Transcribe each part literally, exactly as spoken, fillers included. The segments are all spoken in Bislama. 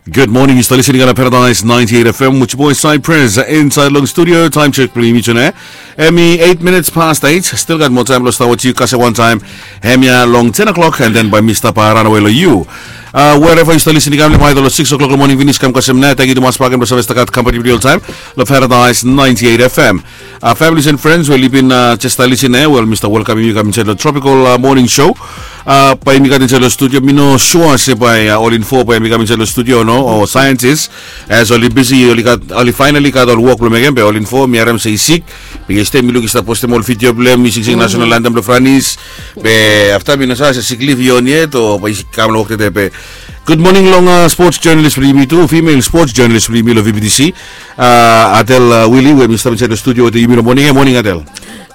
Good morning, yu stap listening long Paradise ninety-eight F M with your boy Cypress inside long studio. Time check blong yumi tune. Hemi eight minutes past eight. Still gat moa taem blong stap wetem yu kasem wantaem hemia long ten o'clock, and then bae mi stap ranawe long yu. Uh, wherever yu stap listening, kam long aedha long six o'clock long moning finis kam kasem nao. Tangkiu tumas bakegen blong save stap gat kampani blong yu oltaem long Paradise ninety-eight F M. Uh, families and friends we oli bin uh, jes stap listening, eh, wel, mi stap welkamem yu kam insaed long Tropical uh, Morning Show. Uh, bae yumi gat insaed long studio, mi no sua se bae uh, ol info bae yumi kam insaed long studio o no, o scientist. As oli bisi, oli gat, oli finally gat ol wok blong mekem, be ol info mi harem se i sik. Be yestede mi luk i stap postem ol video blong hem, i singsing national anthem blong Franis. Be afta mi no save se sick leave i on yet o bae i kam long wok tede be. Good morning long uh, sports journalist blong yumi tu, female sports journalist blong yumi long V B T C. Uh, Adel uh, Willie we mi stap insaed long studio wetem yumi long moning ya. Moning Adel.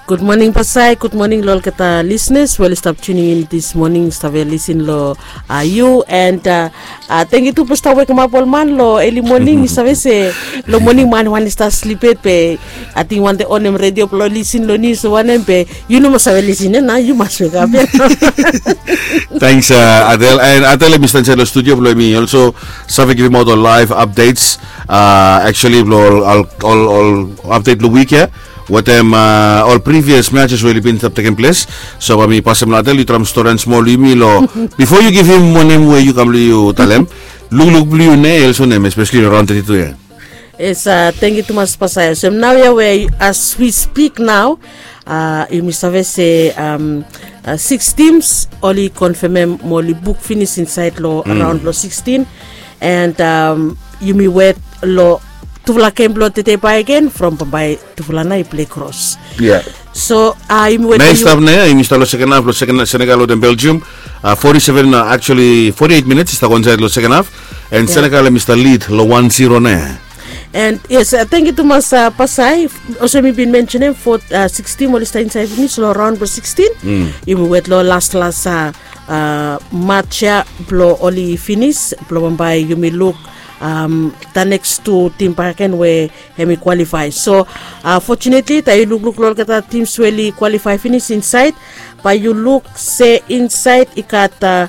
Good morning Pasai, good morning long olgeta listeners we oli stap tuning in this morning, stap lisin long uh, yu, and uh, uh, tangkiu tu blong stap wekemap ol man long early morning. Yu save se long moning man wan i stap slip yet, be ating wan de onem redio blong lisin long nius o wanem, be yu no mas save lisin ya nao, yu mas wekap ya. Thanks uh, Adel. And Adel hemi stap insaed long studio blong hemi also save givimaot ol live updates. Uh, actually blong ol, ol, ol, ol update blong wik ya wetem uh, ol previous matches we oli bin stap tekem ples. So bae mi pasem long Adel, yu traem stori han smol long yumi long bifo yu givim wanem we yu kam blong yu talem. Lukluk blong yu nao, also nem, especially long raon teti tu ya. Yes, uh, tangkiu tumas Pasai. So nao ya we as we speak now, uh, yumi save se um, uh, six teams oli konfemem mo oli buk finis insaed long raon blong sixteen. And um, yumi wet long tufala gem blong tede bakegen from bambae tufala nao i plei kros. Yeah. So uh, yumi wet nao i stap nao ya, yumi stap long seken haf blong Senegal wetem Belgium. Uh, forty-seven, uh, actually forty-eight minutes i stap go insaed long seken haf. And Senegal hemi stap lead long one zero nao ya. And yes, uh, tangkiu tumas uh, Pasai. Olsem mi bin mensenem, fo uh, six team oli stap insaed finis long raon blong sixteen. Yumi wet long las las uh, uh, match ya blong oli finis blong bambae yumi luk um, the next tu tim bakegen we hemi qualify. So uh, fortunately taem yu lukluk long olgeta tims we oli qualify finis insaed, bae yu luk se insaed i gat uh,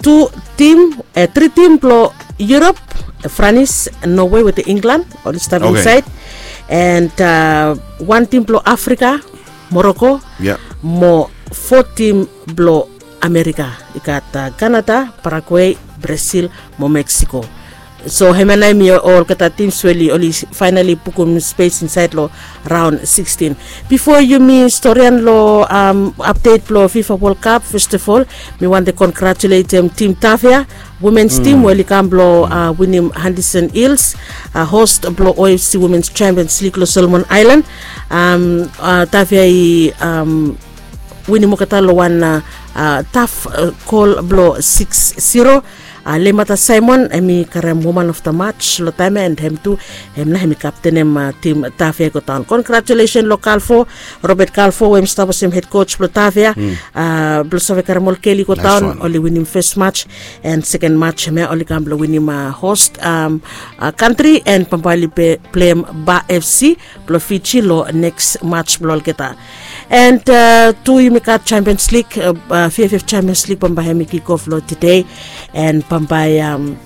tu tim, uh, tri tim blong Europe, uh, Franis, Norway wetem England oli stap insaed. And uh, wan tim blong Afrika, Morocco, mo fo tim blong Amerika, i gat uh, Canada, Paraguay, Brazil mo Mexico. So hemia nao hemi olgeta tims we oli, oli finally bukum spes insaed long raon sixteen. Bifo yumi stori han long um, update blong FIFA World Cup, first of all mi wantem kongratuletem tim Tafea, womens tim we oli kam blong uh, winim Henderson Hills, uh, host blong O F C Womens Champions League long Solomon Island. Um, uh, Tafea i um, winim olgeta long wan uh, uh, taf uh, gol blong six zero. Uh, Lemata Simon hemi karem woman of the match long taem ya, and hem tu hem nao hemi kaptenem uh, tim Tafea i go daon. Congratulations long Kalfo, Robert Kalfo we hemi stap olsem head coach blong Tafea, uh, blong save karem ol gel i go daon. Oli winim first match and second match hemia oli kam blong winim uh, host um, uh, country, and bambae oli pleim Ba F C blong Fiji long next match blong olgeta. And uh, tu yumi gat Champions League, uh, uh, V F F Champions League bambae hemi kick off long tede. And bambae um,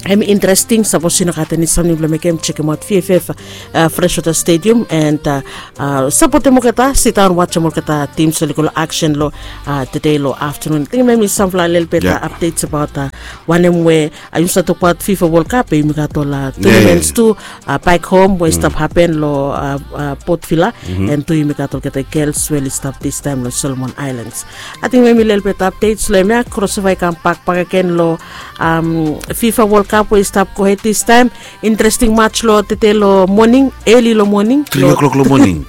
hemi interesting, sapos yu no gat eni samting blong mekem, jekemaot V F F uh, Freshwater Stadium, and uh, uh, sapotem olgeta, sidaon wajem olgeta tims oli go long aksen long uh, tede long aftenun. Ating hemia hemi samfala lelebet uh, updates abaot uh, wanem we uh, yumi save tokbaot FIFA World Cup, be yumi gat ol uh, tournaments tu uh, back home we i stap hapen long uh, uh, Port Vila. And tu yumi gat olgeta gels we oli stap distaem long Solomon Islands. Ating hemia hemi lelebet updates long hemia. Krosova i kambak bakegen long um, FIFA World Cup we i stap gohed distaem. Interesting match long tede long moning, early long moning, three o'clock long moning.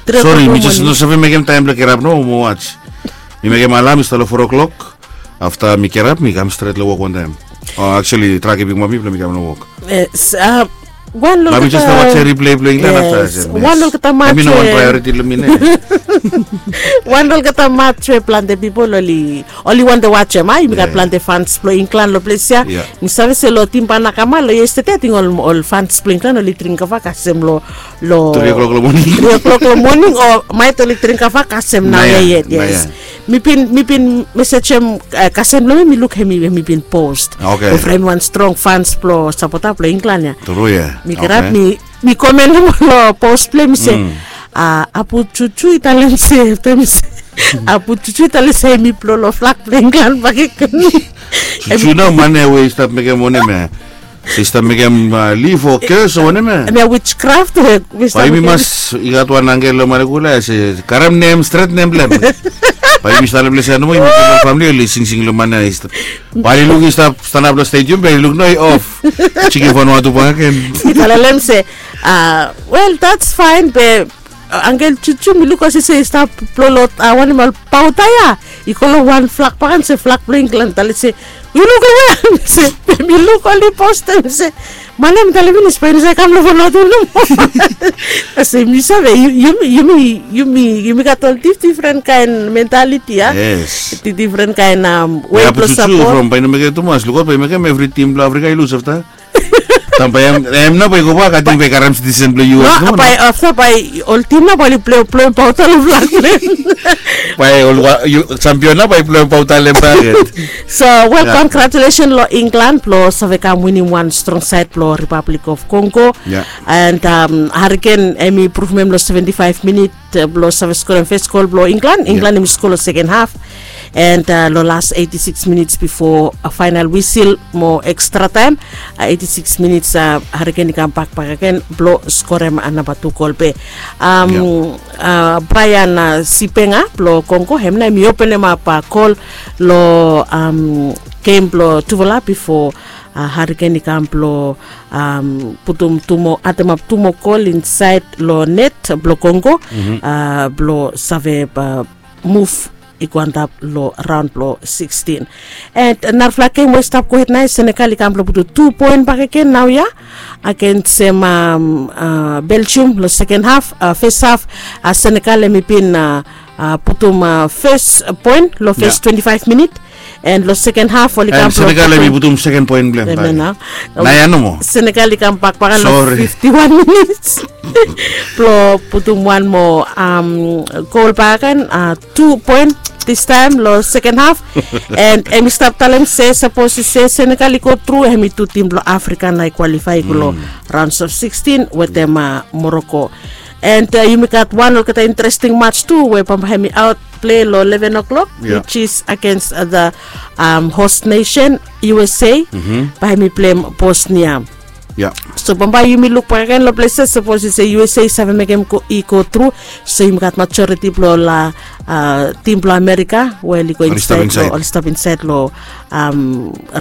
Sori, mi jes no save mekem taem blong kirap nao mo watch. Mi mekem alam i stap long four o'clock. Afta mi kirap mi kam stret long wok wantaem. Oh, actually trae kipim mi blong mi kam long wok. Yes, uh, Wan long olgeta match we wan long olgeta match we plante pipol oli wantem wantem a yumi gat plante fans blong Inglan long ples ya. Mi save se long tim banakama long yestede ating ol fans blong Inglan oli dring kava kasem long long tri o'klok long moning o maet oli dring kava kasem nao ya yet. Yes. Mi bin mi bin mesejem kasem long mi mi luk hemi hemi bin post. Evri wan strong fans blong sapota blong Inglan ya. Tru ya. Mi grab mi mi komen long post blong mi se apu juju i talem se pe mi se apu juju i talem se hemi blong long flak blong Inglan bakegen. Juju nao man ya we i stap mekem wanem ya? Se i stap mekem lif o kes o wanem ya? Hemia witchcraft. Bae yumi mas i gat wan angel long malekula ya se karem nem stret nem blong hem. Bae yumi stap long ples ya nomo yumi famili oli singsing long man ya i stap. Bae oli luk i stap stanap long stedium bae oli luk no i of. Jikin fanua tu bakegen. I talem long hem se a wel dats faen be angel juju mi luk olsem se i stap blong long wanem ol pauta ya i go long wan flak bakegen se flak blong Inglan talem se yu luk long we? Mi se mi luk oli postem se man ya mi talem finis bae yu no save kam long fanua tu nomo. Olsem yu save yumi yumi yumi yumi gat ol difdifren kaen mentaliti ya. Difdifren kaen wei blong sapot. From bae i no mekem tumas lukaot bae i mekem evri tim blong Afrika i lus afta. Taem bae hem nao bae i go bak ating bae i karem sitisen blong U S. Nao bae afta bae ol tim nao bae oli blowem pauta long flak blong hem. Bae ol sampion nao bae i blowem pauta long hem bakegen. So wel, congratulation long Inglan blong save kam winim wan strong saed blong Republic of Congo. And Hariken hemi pruvum hem long seventi faef minit blong save skorem fes gol blong Inglan. Inglan hemi skor long seken haf. And long las eiti sikis minits bifo faenal wisil mo ekstra taem, eiti sikis minits Hariken i kambak bakegen blong skorem namba tu gol be Brian Sipenga blong Kongo hem nao hemi openemap gol long gem blong tufala bifo Hariken i kam blong putum tu moa, atemap tu moa gol insaed long net blong Kongo blong save muv i go antap long raon blong sikstin. And narafala gem we i stap gohed nao ya Senegal i kam blong putum tu poen bakegen naoia agensem Belgium long seken haf. Fes haf Senegal hemi bin putum fes poen long fes twenti faef minit. And long seken haf oli kam blong putum seken poen blong hem. Naoia nomo Senegal i kambak bakegen long fifti wan minits blong putum wan moa gol bakegen, tu poen distaem long seken haf. And hemi stap talem se sapos i se Senegal i go tru hemi tu tim blong Afrika nao i kwalifae i go long raons of sikstin wetem Moroko. And yumi gat wan olgeta interesting mats tu we bambae hemi aot plei long leven o'klok, which is agaens the host nation, U S A. Bae hemi pleim Bosnia. So bambae yumi luk bakegen long ples ya sapos i se U S A i save mekem i go tru. So yumi gat majoriti blong ol tim blong Amerika we oli go insaed long oli stap insaed long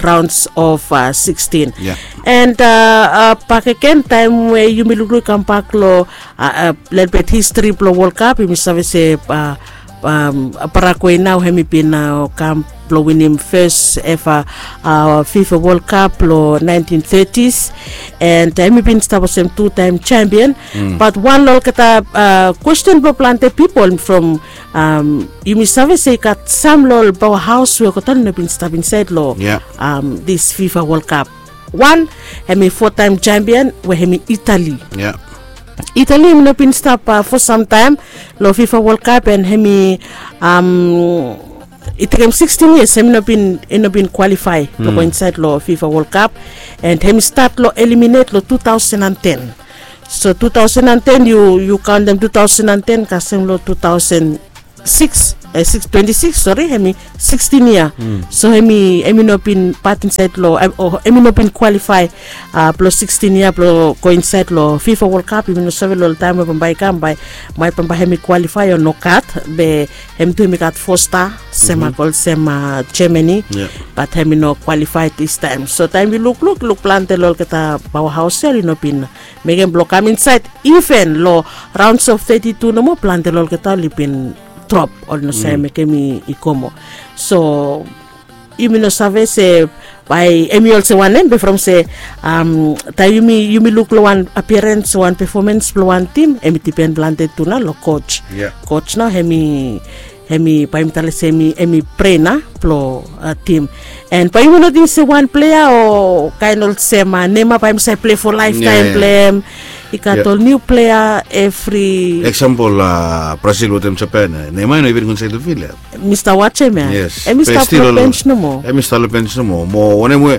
raons of sikstin. And bakegen taem we yumi lukluk i kambak long lelebet histri blong Wol Kap yumi save se Paraguay nao hemi bin kam blong winim fes eva FIFA Wol Kap long naentin tetis. And hemi bin stap olsem tu taem jampion. Bat wan long olgeta kwesten blong plante pipol from yumi save se i gat sam long ol paoa haos we olgeta oli no bin stap insaed long dis FIFA Wol Kap. Wan hemi fo taem jampion we hemi Itali. Itali hemi no bin stap fo samtaem long FIFA Wol Kap and hemi i tekem sikstin yias hemi no bin i no bin kwalifae blong go insaed long FIFA Wol Kap. And hemi stat long eliminet long tu taosen an ten. So tu taosen an ten yu kaontem tu taosen an ten kasem long tu taosen siks, siks twenti siks sori hemi sikstin yia. So hemi hemi no bin pat insaed long hemi no bin kwalifae blong sikstin yia blong go insaed long FIFA Wol Kap. Yumi no save long ol taem we bambae i kam bae maet bambae hemi kwalifae o nogat. Be hem tu hemi gat fo sta sem ago olsem Germany. Bat hemi no kwalifae distaem. So taem yu lukluk luk plante long olgeta paoa haos ya oli no bin mekem blong kam insaed iven long raons of teti tu nomo plante long olgeta oli bin drop oli no save mekem i go moa. So yumi no save se Bae hemi olsem wanem be from se taem yumi luk long wan apiarens o wan pefomens blong wan tim, hemi dipen plante tu nao long koj. Koj nao hemi, bae yumi talem se hemi bren blong tim. And bae yumi no ting se wan plea o kaen olsem Neymar bae hemi save plei fo laeftaem blong hem. I gat ol niu plea evri. Eksampol, Brasil wetem Japan, Neymar i no iven go insaed long fil ya. Mi stap wajem ya. Hemi stap long bench nomo. Hemi stap long bench nomo. Mo wanem we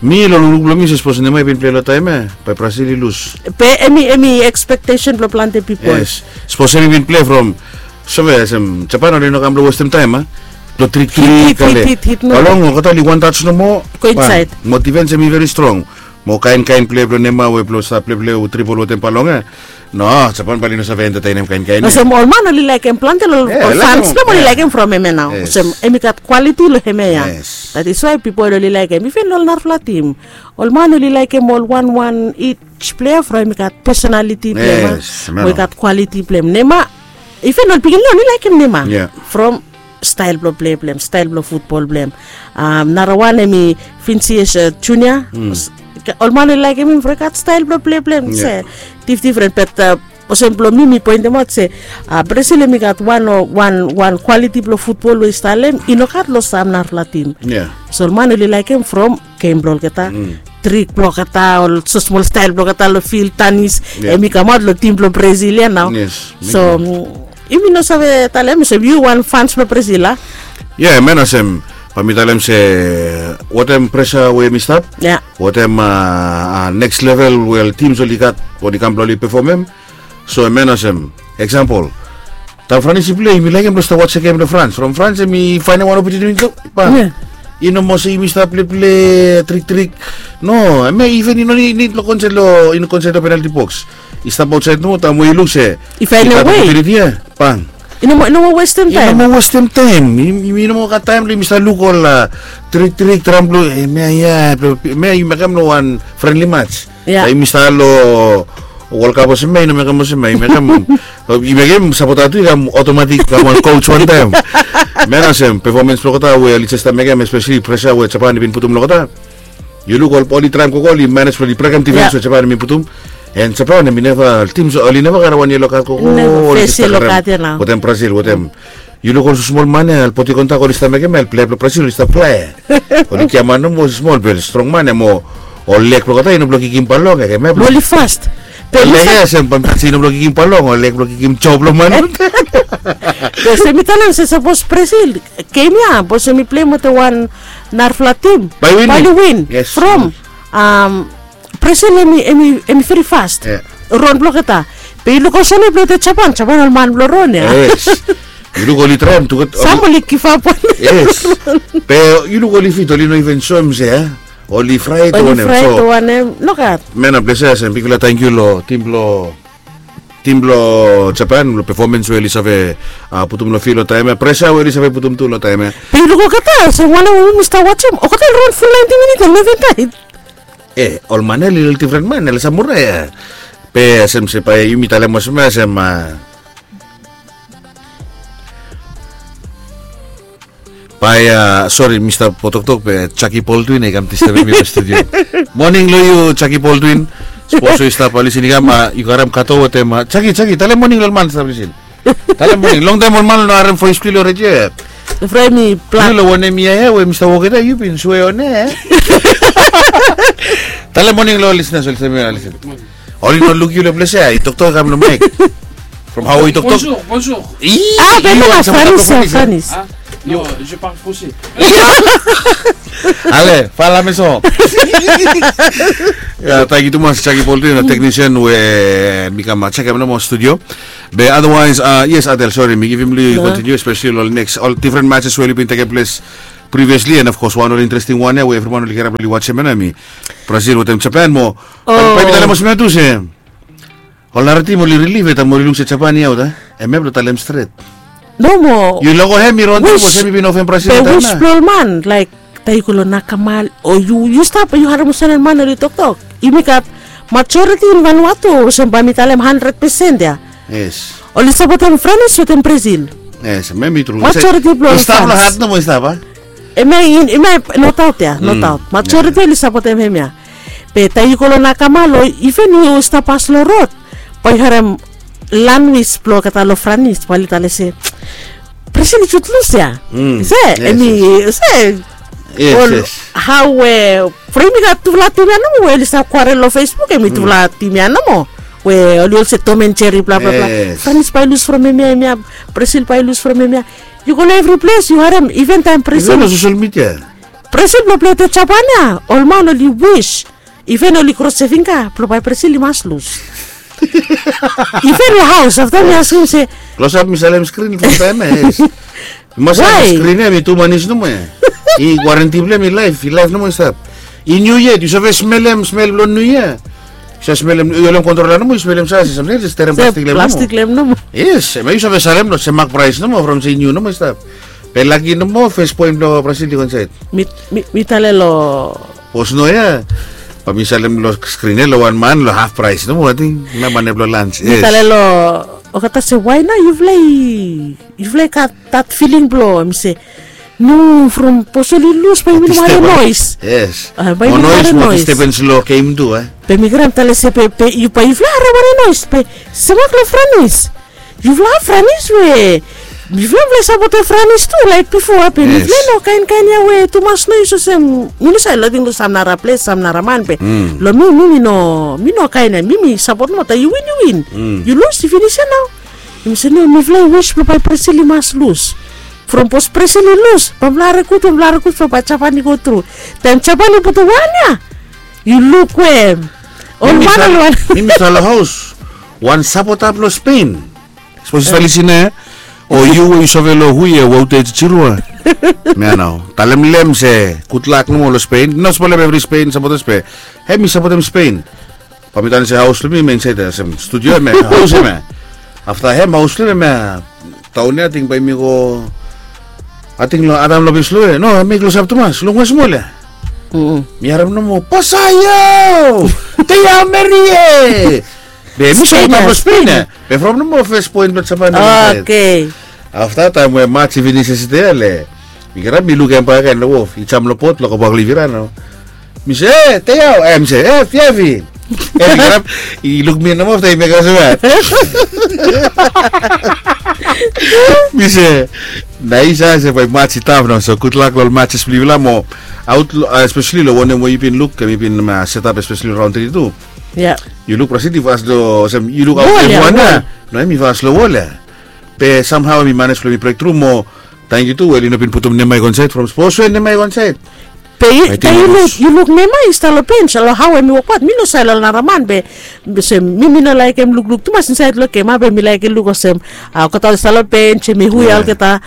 mi long lukluk blong mi se sapos Neymar i bin plei long taem ya, bae Brasil i lus. Be hemi, hemi ekspektesen blong plante pipol. Sapos hemi bin plei from, save olsem Japan oli no kam blong westem taem a, blong triktrik ale. Long olgeta oli wan taj nomo. Go insaed. Mo difens hemi veri strong. Mo kaen kaen plea blong Neymar we blong stap pleplei o dribol wetem bal long ya. No, Japan bae oli no save entetenem kaen kaen ya. Olsem ol man oli laekem plante, ol fans blong hem oli laekem from hemia nao. Olsem hemi gat kwaliti long hemia ya. That is why pipol oli laekem. Iven ol narafala tim, ol man oli laekem ol wan wan ij plea from hemi gat pesonaliti blong hem. Mo i gat kwaliti blong hem. Neymar, iven ol pikinini oli laekem Neymar from stael blong plei blong hem, stael blong futbol blong hem. Narawan hemi Vinicius Junior. Ol man oli laekem hem from i gat stael blong plei blong hem. Se difdifren, be olsem blong mi, mi poentemaot se Brasil hemi gat wan, wan kwaliti blong futbol we i stap long hem i no gat long sam narafala tim. So ol man oli laekem from gem blong olgeta, trik blong olgeta, ol smosmol stael blong olgeta long fil, tanis, hemi kamaot long tim blong Brasil ya nao. So yumi no save talem olsem yu wan fans blong Brasil a? Ya, hemia nao olsem bae mi talem se wetem presa we hemi stap, wetem neks level we ol tims oli gat oli kam blong oli pefomem. So hemia nao olsem eksampol, taem Frans i plei, yumi laekem blong stap wajem gem long Frans. From Frans hemi faenem wan opotuniti, bang. I no moa se yumi stap pleplei triktrik. No, hemia iven i no nid long konsel long, i no konsel long penalti boks. I stap aotsaed nomo, taem we i luk se i faenem we, bang. I no moa westem taem. I no moa gat taem blong yumi stap luk ol triktrik, tram blong hemia ya, blong hemia i mekem long wan frenli mats. Taem yumi stap long Wol Kap olsem hemia i no mekem olsem hemia, i mekem, i mekem sapota tu i kam otomatik kam wan koj wantaem. Hemia nao olsem pefomens blong olgeta we oli jes stap mekem, espeseli presa we Japan i bin putum long olgeta. Yu luk ol, oli traem gogo, oli manej blong oli brekem difens we Japan i bin putum. And Japan hemi neva, tims oli neva karem wan yelo kad gogo. Oli jes stap karem wetem Brasil, wetem. Yu luk ol smol man ya, ol bodi kontak oli stap mekem ya, ol plea blong Brasil oli stap flai. Oli giaman nomo smol be ol strong man ya mo ol leg blong olgeta i no blong kikim bal long ya, hemia blong oli fast. Be leg ya olsem bae mi talem se i no blong kikim bal long, ol leg blong kikim jo blong man. Be olsem mi talem se sapos Brasil gem ya, sapos hemi pleim wetem wan narafala tim, bae oli win. From Brasil hemi, hemi veri fast. Ron blong olgeta. Be yu luk olsem blong wetem Japan, Japan ol man blong ron ya. Yes. Yu luk oli traem tu gat, sam oli givap wan. Yes. Be yu luk oli fit, oli no iven soem se, a, oli fraet o wanem. Oli fraet o wanem. Nogat. Hemia nao ples ya olsem bigfala tangkiu long tim blong, tim blong Japan long pefomens we oli save putum long fil long taem ya, presa we oli save putum tu long taem ya. Be yu luk olgeta, olsem wanem we yumi stap wajem, olgeta oli ron ful naenti minit, oli no iven taem. E, ol man ya oli ol difren man ya, ol samurai ya. Be olsem se bae yumi talem olsem ya olsem, a, bae, a, sori, mi stap toktok be Jackie Baldwin i kam disturbem mi long studio. Moning long yu, Jackie Baldwin. Sapos yu stap lisin i kam, a, yu karem kato wetem, a, Jackie, Jackie, talem moning long ol man stap lisin. Talem moning, longtaem ol man oli no harem voes blong yu long redio ya. Yu long wanem yia ya we mi stap wok ya, yu bin swe on ya. Talem moning long ol lisenas, ol lisenas. Oli no luk yu long ples ya, i toktok i kam long maek. From hao i toktok. Bonjour, bonjour. A, be no, Spanish, Spanish. Non, je parle français. Ale, fala meso. Ya, tangkiu tumas Jackie Baldwin, teknisian we mi kam jekem nomo studio. Be otherwise, a, yes, Adel, sori, mi givim long yu kontiniu, espeseli ol neks, ol difren matches we oli bin tekem ples previously, and of course wan ol interesting wan ya we evriwan oli kirap oli wajem ya, hemi Brazil wetem Japan mo. Bae mi talem olsem ya tu se ol nara tim oli rilif ya taem oli luk se Japan i aot, a? Hemia blong talem stret. Nomo. Yu luk olsem hemi ron tu olsem hemi bin ofem Brazil taem ya. Be wis blong ol man, laek, taem yu go long nakamal o yu, yu stap, yu harem olsem ol man oli toktok. Yumi gat majoriti in Vanuatu olsem bae mi talem handred pesen ya. Yes. Oli sapotem Franis wetem Brazil. Yes, hemia hemi tru. Majoriti blong ol fans. I stap long hat nomo i stap, a? Em ya, em ya, no daot ya, no daot. Majoriti oli sapotem hemia. Be taem yu go long nakama lo, iven yu stap pas lo rod, bae yu harem lanwis blo olgeta lo Franis bae oli talem se, Brazil i jut lus ya. Se em i se, ol, hao we from i gat tufala tim ya nomo we oli stap kwarel lo Facebook, em i tufala tim ya nomo we oli olsem Tom and Jerry, bla bla bla. Franis bae i lus from hemia, hemia. Brazil bae i lus from hemia. Yu go long evri ples yu harem, iven taem Brazil, Brazil blo pletem Japan ya, ol man oli wis, iven oli krosim fingga blo bae Brazil i mas lus. Iven lo haos afta mi askem se, klosap mi salem skrin from taem ya. Yu mas salem skrin ya, mi tu manis nomo ya. I warenti blo hem i laef, i laef nomo i stap. I niu yet, yu save smelem smel blo niu yia? Yu save smelem, yu holem kontrola nomo, yu smelem sa se samting se terem plastik lem nomo. Yes, em ya yu save salem lo se mak praes nomo from se i niu nomo i stap. Be laki nomo fes poen blo Brazil i go insaed. Mi, mi, mi talem lo, bos no ya. Bae mi salem lo skrin ya lo wan man lo haf praes nomo, ating na man ya blo lans. Mi talem lo olgeta se, wae nao yufala i, yufala i gat that feeling blo, mi se, no, from bos oli lus bae yumi no harem noes. Yes. Bae yumi no harem noes. Mo disturbance lo game tu, e. Be mi krai talem se be, be yu, bae yufala harem wanem noes be, se mak lo Franis. Yufala Franis we, yufala, yufala sapotem Franis tu, laek bifo, a, be mifala no kaenkaen ya we tumas noes olsem, mi no save lo ating lo sam nara ples, sam nara man be. Lo mi, mi, mi no, mi no kaen ya, mi, mi sapot nomo, taem yu win, yu win. Yu lus, i finis ya nao. Yumi se no, mifala i wis blo bae Brazil i mas lus. From bos Brazil i lus, bae mifala harem gud, bae mifala harem gud, from bae Japan i go tru. Taem Japan i putum wan ya, yu luk we ol man ol wan. Mi, mi stap lo haos, wan sapota blo Spain. Sipos yu stap lisin ya, o yu we yu save lo hu ya, Wouters Chirua. Mi ya nao talem lo hem se gudlak nomo lo Spain. No spolem evri Spain sapotas be hem i sapotem Spain. Bae mi talem se haos lo mi hemia insaed ya, olsem studio hemia, haos hemia. Afta hem haos lo mi hemia, taon ya ating bae mi go, ating lo Adam Lopez lo, e, no, mi klosap tumas, lo wan smol ya. Mi harem nomo, Pasayo! Te amo, Marie! Be mi sapot lo Spain ya. Be from nomo fes poen blo Japan. Oke. Afta taem we mats i finis yestede ya, le mi kirap mi lukim hem bakegen lo wof, i jam lo bot blo go bak lo Ivira nao. Mi se, e, Teo, e, mi se, e, Fiafi. E, mi kirap, i luk mi nomo afta i mekem olsem ya. Mi se, naes ya, se bae mats i stap nao, so gudlak lo ol matses blo yufala mo aot, espeseli lo wanem we yu bin luk, hem i bin setap espeseli raon tri tu. Yu luk Brazil i fas lo, olsem yu luk aot lo wan ya. No, hem i fas lo wol ya. Be samhao mi manej blo mi brektru mo, tangkiu tu we oli no bin putum Neymar i go insaed from sipos we Neymar i go insaed. Be yu, yu luk, yu luk Neymar i stap lo bench, lo hao hem i wokbaot, mi no save lo ol nara man be, be olsem mi, mi no laekem lukluk tumas insaed lo gem, a, be mi laekem luk olsem, a, olgeta oli stap lo bench, hem i hu ya olgeta.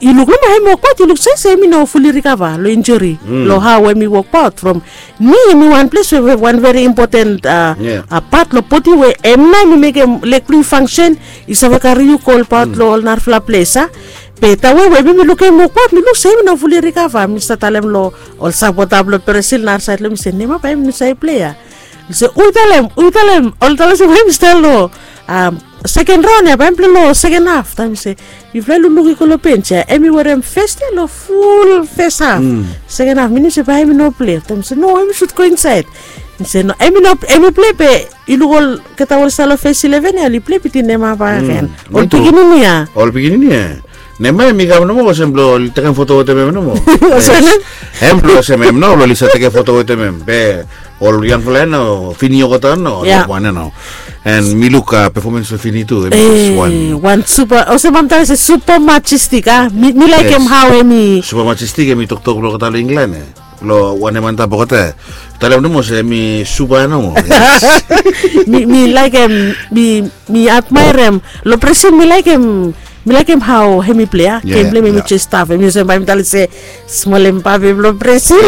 Yu luk nomo hem i wokbaot, yu luk se, se hem i no fuli rikava lo injuri. Lo hao hem i wokbaot from ni, hem i wan ples we, we wan veri impoten, a, pat lo bodi we hem nao hem i mekem leg blo yu fangsen, i save karem yu go olbaot lo ol narafala ples, a. Be taem we, we mi, mi lukim hem i wokbaot, mi luk se hem i no fuli rikava. Mi stap talem lo ol sapota blo Brazil narasaed lo mi se, Neymar bae hem i no save plea. Mi se, hu talem, hu talem, oli talem se bae hem i stap lo, a, seken raon ya, bae hem i plea lo seken haf. Taem mi se, yufala lukluk i go lo bench ya, hem i werem fes ya lo ful fes haf. Seken haf, minim se bae hem i no plea. Taem mi se, no, hem i sud go insaed. Mi se, no, hem i no, hem i plea be yu luk olgeta we oli stap lo fes ileven ya, oli plea bitim Neymar bakegen. Ol pikinini ya. Ol pikinini ya. Neymar hem i kam nomo olsem blo oli tekem foto wetem hem nomo. Hem blo olsem hem nao oli save tekem foto wetem hem. Be ol yangfala ya nao, Fini olgeta nao, wan ya nao. And mi luk, a, pefomans blo Fini tu, hem i wan. Wan supa, olsem mam talem se supa majistik, a. Mi, mi laekem hao hem i supa majistik, hem i toktok blo olgeta lo Inglan, e. Lo wanem antap olgeta. Talem nomo se hem i supa nomo. Mi, mi laekem, mi, mi admaerem. Lo Brazil mi laekem, mi laekem hao hem i plea. Gem blo hem i jes stap. Hem i olsem bae mi talem se smol Mbappe blo Brazil.